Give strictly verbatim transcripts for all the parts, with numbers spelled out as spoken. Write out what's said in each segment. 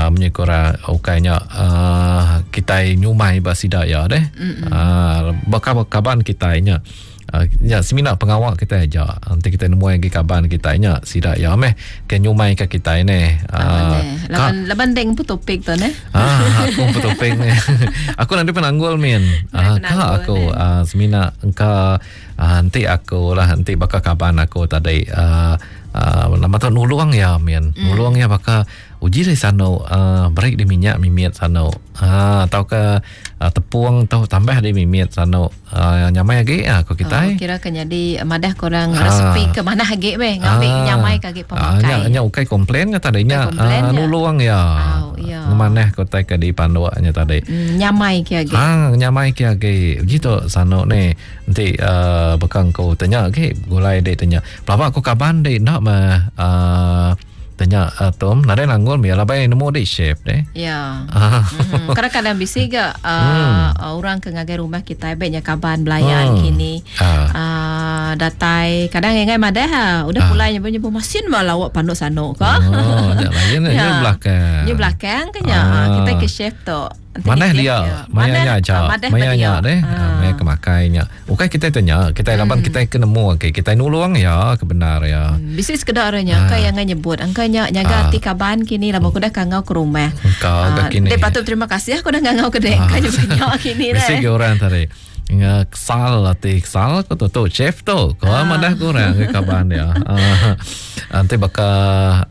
Uh, menyekura ukainya uh, kita nyumai ba sida ya deh. Uh, bakal kaban kita nya. Uh, ya semina pengawak kita aja. Nanti kita nemu lagi kaban kita nya sida ya meh ke nyumai ke kita ni. Uh, laban laban deng pu topik tu ne. Ah, aku pu topik ni. Aku nanti penanggul min. Ah, ka aku uh, semina engka uh, nanti aku lah nanti bakal kaban aku tadi uh, uh, nama tu nulung ya min. Mm. Nulung ya bakal uji dari sano uh, break di minyak mimit sano. Ah, atau ke uh, tepung atau tambah di mimit sano. Uh, nyamai lagi aku kita. Oh, kira kan jadi madah korang ah. resepi ke mana lagi meh ngambil ah. nyamai kaki pemakai. Ah, nya nya ukai komplain ke tadi nya uh, nulung ya. Oh, ya. Ngemanah ko tai ke di panduannya tadi. Mm, nyamai ke lagi. Ah, nyamai ke lagi. Uji tu sano ni nanti uh, bekang ko tanya lagi gulai dek tanya. Pelaba aku kaban dek nak mah uh, tanya uh, Tom, nadai nanggul mi labai nemu di chef deh. Ya. Mm-hmm. Kadang-kadang bisi ga uh, hmm. orang ke ngagai rumah kita baiknya kaban belayan hmm. kini. Uh. Uh, datai kadang ngai madah ha, udah uh. pulai nyebut nyebut masin malah awak panduk sano ka. Oh, nya lain nya belakang. Nya belakang kan ya. Uh. Kita ke chef tu. Mana dia? Maya nya aja. Maya nya deh. Maya kemakai nya. Ukai kita tanya, kita laban kita ke nemu okey, kita nulung ya kebenar ya. Bisi sekedar orangnya angka yang nyebut, angka nya nyaga ati kaban kini lama aku dah kangau ke rumah. Kau kini. Dia patut terima kasih aku dah ngangau ke dek kau nyebut kini deh. Bisi ke orang tadi. Nga kesal ati kesal aku tu tu chef tu. Kau ah. madah kurang ke kaban dia. Nanti baka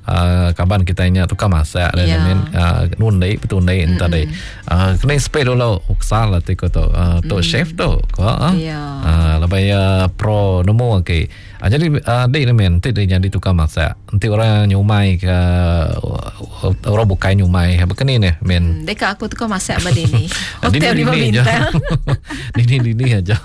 uh, kaban kita nya tukang masak dan yeah. min uh, nundi petundi mm-hmm. tadi. Uh, kena spray dulu kesal ati ko tu. Uh, tu mm. chef tu. Kau ah. Yeah. Uh, lebih uh, pro nemu okey. Uh, jadi uh, dik ni min nanti dia jadi tukang masak. Nanti orang nyumai ke uh, orang bukai nyumai. Begini ni min. Hmm, deka aku tukang masak badi ni. Hotel lima bintang. Dini dini aja.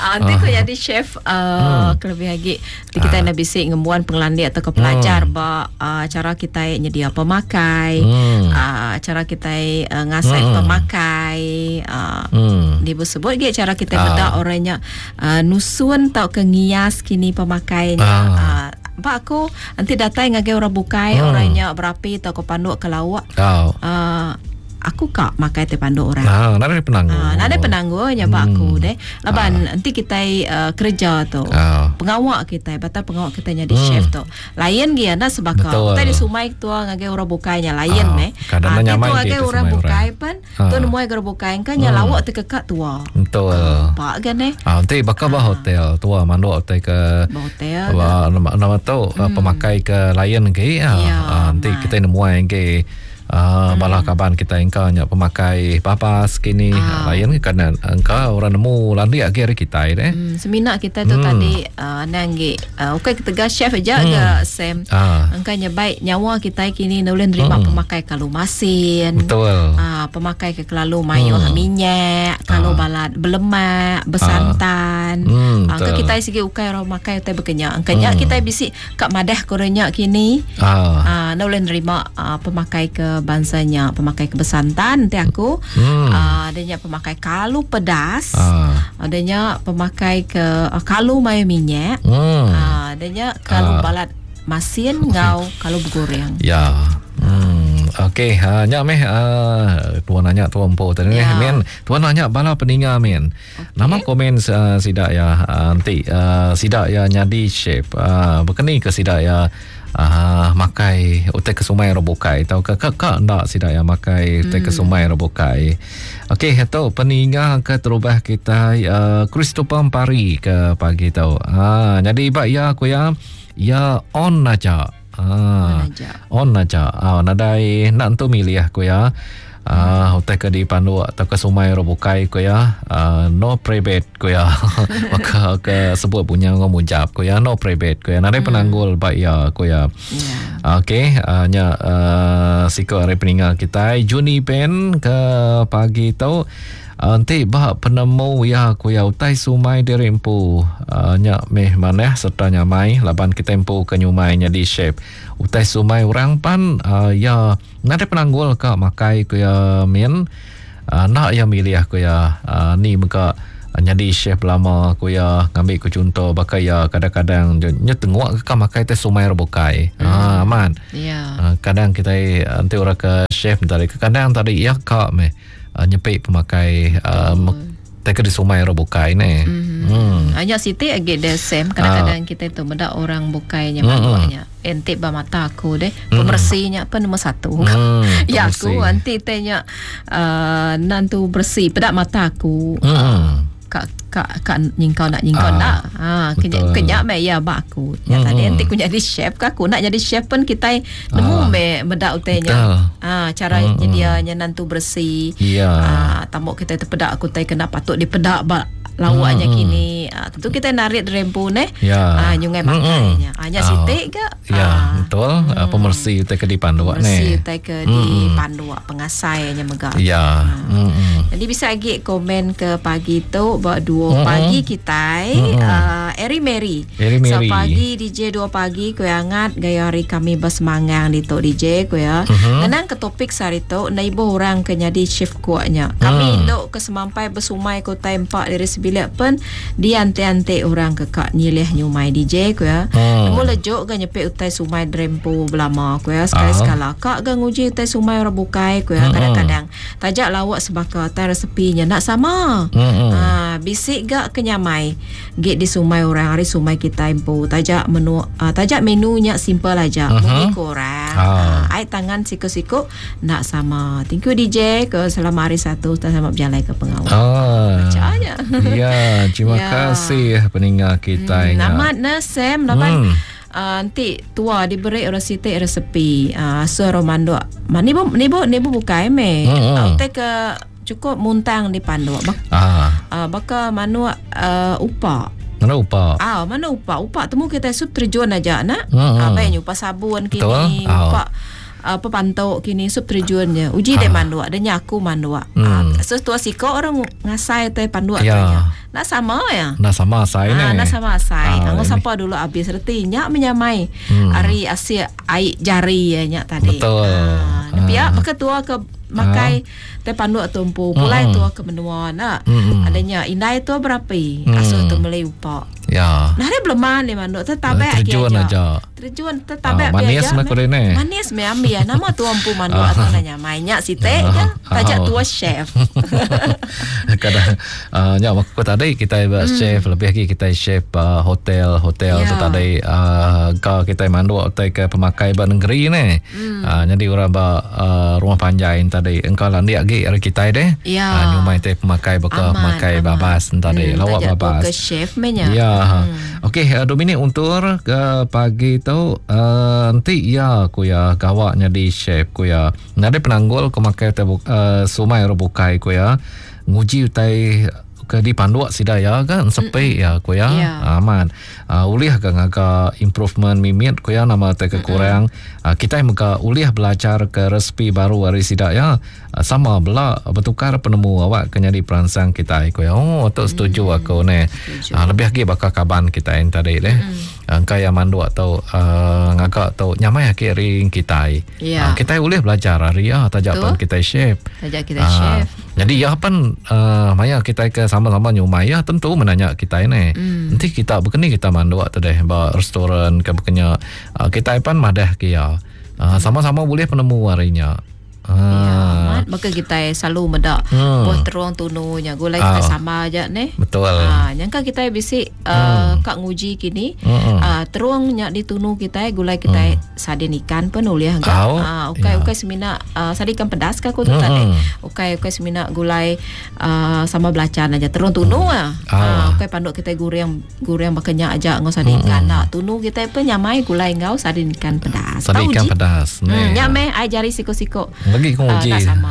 Ah, nanti kau jadi chef uh, hmm. kelebih lagi kita ah. nak bisik ngembuan pengelandi atau ke pelajar hmm. ba uh, cara kita nyedia pemakai, hmm. uh, cara kita uh, ngasai hmm. pemakai, uh, hmm. disebut ge cara kita ah. bedak orangnya uh, nusun tau ke ngias kini pemakainya. Ah. Uh, Pak aku nanti datang ngagai orang bukai hmm. orangnya berapi atau ke panduk ke lauk. Oh. Uh, aku kak makai teh panduk orang. Nah, nada penangguh. Ah, nada penangguhnya pak hmm. aku deh. Laban ah. nanti kita uh, kerja tu. Ah. Pengawak kita, batal pengawak kita jadi hmm. chef tu. Lain ge anda sebaka. Kita di sumai tua ngagai orang bukainya lain ah. meh. Kadang ah, nyamai tu ngagai orang bukai pan, ah. tu nemu orang bukai kan nya hmm. lawak tekekak tua. Betul. Ah, pak kan eh. Ah, nanti bakal bah hotel tua manduk hotel ke hotel. Bah, nama, nama tu hmm. pemakai ke lain ge. Ya, ah, nanti kita nemu ge. Uh, hmm. Balah kaban kita engkau nya pemakai papas kini ah. lain kerana engkau orang nemu landi lagi hari kita deh. Hmm, semina kita tu hmm. tadi uh, nanggi uh, okey kita chef aja hmm. ke Sam. Ah. Engkau nya baik nyawa kita kini boleh nerima hmm. pemakai kalau masin. Betul. Uh, pemakai ke kelalu mayo hmm. minyak, kalau ah. balat berlemak, bersantan. Ah. Hmm, uh, engkau kita sigi ukai orang makai utai berkenyak. Engkau nya hmm. kita bisi kat madah korenya kini. Ah. Uh, nak boleh nerima uh, pemakai ke bangsanya pemakai kebersantan nanti aku hmm. uh, adanya pemakai kalu pedas ah. adanya pemakai ke uh, kalu mayo minyak hmm. uh, adanya kalu ah. balat masin ngau kalu bergoreng ya. Hmm. Okey, ha nya meh uh, tuan nanya tuan empo tadi ya. Men tuan nanya bala peninga men. Okay. Nama komen uh, sidak ya uh, nanti uh, sidak ya nyadi chef uh, berkeni ke sidak ya uh, makai utai ke sumai robokai atau ke ke ke ndak sidak ya makai utai ke sumai robokai. Okey, tu peninga ke terubah kita uh, Christopher Pari ke pagi tu. Ha jadi bak ya aku ya ya on aja. Ah, on aja. Ah, nadai nak tu milih aku ya. Ah, utai ke di pandu atau ke sumai robokai ku ya. Ah, no private ku ya. Maka ke sebut punya ngomong mujab ku ya, no private ku ya. Nadai penanggul bak ya ku ya. Yeah. Okey, uh, nya uh, siko hari peninggal kita Juni Pen ke pagi tu. Nanti bah penemu ya ku ya utai sumai diri empu uh, nya meh maneh serta nyamai laban kita empu ke nyumai nya di chef utai sumai orang pan uh, ya nade penanggul ka makai ku ya min uh, nak ya milih ku ya uh, ni mega Jadi chef lama aku ya ngambil ku contoh bakal ya kadang-kadang nya tengok ke makai teh sumai bukai. Hmm. Ha aman. Ya. Ha, kadang kita nanti orang ke chef tadi kadang tadi ya kak meh nyepik pemakai uh, teh ke di sumai bukai ne. Hmm. Hmm. Hanya siti agi de same kadang-kadang ha. Kita tu mendak orang bukainya maknanya. Hmm. Entik ba mata aku deh pemersihnya apa nombor satu. Hmm, ya aku anti tehnya uh, nantu bersih pedak mata aku. Hmm. Kak kak kak nyingkau nak nyingkau ah, nak ha kenyak kenyak me ya bak aku ya hmm. Tadi nanti aku jadi chef ke aku nak jadi chef pun kita nemu ah, me medak utainya ha cara hmm. dia nya nantu bersih ya ha tambok kita terpedak aku tai kena patut dipedak bak lawaknya hmm. kini ha, tentu kita narik rempu ne ya ha nyungai makainya hmm. hanya sitik ke ya ha. Betul hmm. Pemersih utai ke dipanduak ne pemersih utai ke dipanduak pengasainya megak ya ha. hmm. Jadi bisa lagi komen ke pagi tu buat dua mm-hmm. pagi kita mm-hmm. uh, Eri Mary. Eri Mary. So pagi D J dua pagi ku angat gaya hari kami bersemangang di tok D J ku ya. Mm-hmm. Nenang ke topik sehari tu naibo orang ke jadi chef kuatnya. Kami mm. induk ke semampai bersumai ku tempak dari sebilik pun diante-ante orang ke kak nyilih nyumai D J ku ya. Mm. Nemu lejuk ke nyepik utai sumai drempo belama ku ya sekali-sekala. Kak ke nguji utai sumai orang bukai ku ya Mm-hmm. kadang-kadang. Tajak lawak sebaka tai resepinya nak sama. Mm-hmm. Ha, bisik gak kenyamai git di sumai orang hari sumai kita empu tajak menu uh, tajak menunya simple aja uh-huh. mungkin kurang ah. uh, ai tangan siku-siku nak sama. Thank you D J ke selama hari satu dan selamat berjalan ke pengawal. Ah. Bacanya. Ya, terima Ya. kasih pendengar kita. Hmm, amat na Sam laban Hmm. Uh, nanti tua diberi resepi resepi uh, suruh manduk. Ma ni bu ni bu ni bu bukai me. Hmm, hmm. Uh, ke cukup muntang di panduk. Bak, Ah, uh, baka manuk uh, upak. mana upak? Ah, mana upak? Upak temu kita sup terjun aja nak. Hmm, Ah, hmm. baik upak sabun Betul. kini, Ah. upak apa pantok kini sup terjunnya. Uji deh Ah. manduk, dia nyaku manduk. Hmm. Ah, so tua siko orang ngasai teh panduk Ya. tanya. Nak sama ya? Nak sama asai Ah, ni. nak sama asai. Ah, Anggo ini. siapa dulu habis reti nyak menyamai. Hmm. Ari asia ai jari ya nyak tadi. Betul. Ah, Ah. pihak pakai tua ke makai teh panduk tumpu pulai Hmm. tua ke menua nak. Hmm. Adanya indai tua berapi Hmm. asuh tu melei upak. Ya. Nah, dia belum mandi manduk tetap Terjun aja. Terjun tetap Ah, manis mah kau ni. Manis me ambil ya. Nama tua empu manduk atau nanya mainnya si teh Ah. ya. Tajak Ah. tua chef. Kadang uh, nya aku tadi kita buat Hmm. chef lebih lagi kita chef uh, hotel hotel Ya. tu tadi uh, ka kita manduk atau ke pemakai ba negeri ni. Hmm. Uh, jadi orang ba uh, rumah panjai tadi engkau lah ndik lagi hari kita deh. Ya. Uh, nyumai teh pemakai beka Aman, pemakai aman. babas tadi Hmm, lawak tajak tua babas. ke chef menya. Ya. Hmm. Okey, uh, Dominic untuk ke pagi tu uh, nanti ya ku ya gawak jadi chef ku ya. Nade penanggul ku makai te uh, sumai bukai ku ya. Nguji utai ke di panduk sida ya kan sepi ya ku ya. Ya. Aman. Uh, ulih ke ngaga improvement mimit ku ya nama te kekurang. Uh, kita mega ulih belajar ke resipi baru hari sida ya. Uh, sama bela bertukar penemu awak ke jadi perangsang kita ku ya. Oh, tu setuju aku ni. Setuju. Uh, lebih lagi bakal kaban kita yang tadi deh. Mm. Engkau yang manduk atau uh, ngagak atau nyamai lagi ring kita. Ya. Uh, kita boleh belajar hari ya tajak Betul. pan kita chef. Tajak kita Ah, chef. Jadi ya pan uh, maya kita ke sama-sama nyumai ya tentu menanya kita ini. Mm. Nanti kita berkeni kita manduk tu deh ba restoran ke berkenya uh, kita pan madah ke ya. Uh, sama-sama boleh penemu harinya. Ya, Ah, amat. Maka kita selalu medak Hmm. buah teruang tununya. Gulai kita Ah. sama aja ni. betul. Ha, nyangka kita bisi uh, kak nguji kini. Hmm. Uh, teruang nyak ditunu kita gulai kita sardin ikan pun boleh enggak. Au. Ah, ukai Ya. ukai semina uh, sardin ikan pedas ka aku tu Hmm. tadi. Ukai ukai semina gulai uh, sama belacan aja teruang tunu ah. Ah. Ah, ukai panduk kita goreng goreng bakenyak aja ngau sardin ikan nak. Tunu kita pun nyamai gulai ngau sardin ikan pedas. Sardin Tahu ikan ji? pedas. Hmm, Ni. nyame ai jari siko-siko. Lagi ku Ah, nguji. tak sama.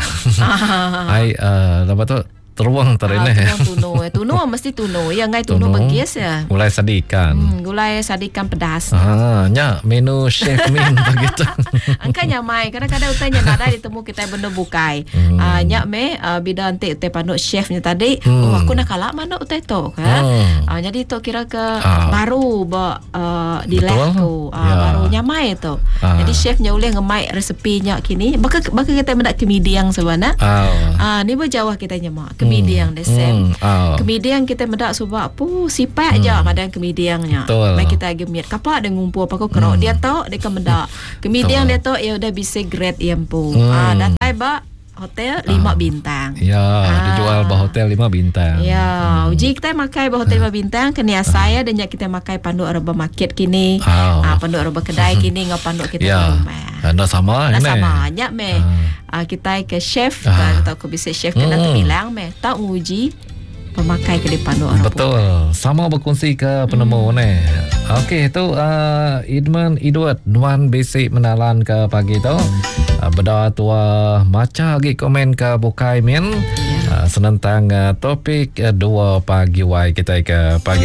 Ai uh, lepas tu teruang tadi Ah, ni. teruang tunu. Eh, Tunu mesti tunu. Ya ngai tunu begis ya. Gulai sardin ikan. Hmm, gulai sardin ikan pedas. Ah, nya menu chef min begitu. Angka nyamai kadang-kadang utai nya nadai ditemu kita benda bukai. Hmm. Ah nyak me uh, bida antik utai panduk chefnya tadi, Hmm. oh aku nak kalah mana utai tu kan. Hmm. Ah jadi tu kira ke Ah. baru ba uh, di Betul. tu. Ah Ya. baru nyamai tu. Ah. Jadi chefnya boleh ngemai resepinya kini. Baka baka kita mendak kemidiang sebenarnya. Ah. Ah ni berjauh kita nyemak. Kemiding deh Sam. Hmm. Ah. Kemiding kita medak subak pu sipak je madang kemidingnya. Betul. Mai kita agi miat kapak dia ngumpul paku kerok dia tok dia ke medak. Kemiding dia tok ya udah bisa grade ia empu. Hmm. Ah datai ba hotel lima bintang. Ya, Ah. dijual ba hotel lima bintang. Ya, uji kita makai ba hotel lima bintang kena saya dan nyak kita makai panduk reba market kini. Ah. Ah panduk reba kedai kini ngau panduk kita Ya. ke rumah. Anda sama Nah ini. sama nyak meh. Ah. kita ke chef Ah. atau ke bisa chef kena Hmm. terbilang meh. Tak nguji pemakai ke depan orang Betul. Sama berkongsi ke penemu hmm. ni. Okey, tu uh, Idman Edward Nuan basic menalan ke pagi tu. Uh, beda tua maca lagi komen ke bukai min. Uh, senentang uh, topik uh, dua pagi wai kita ke pagi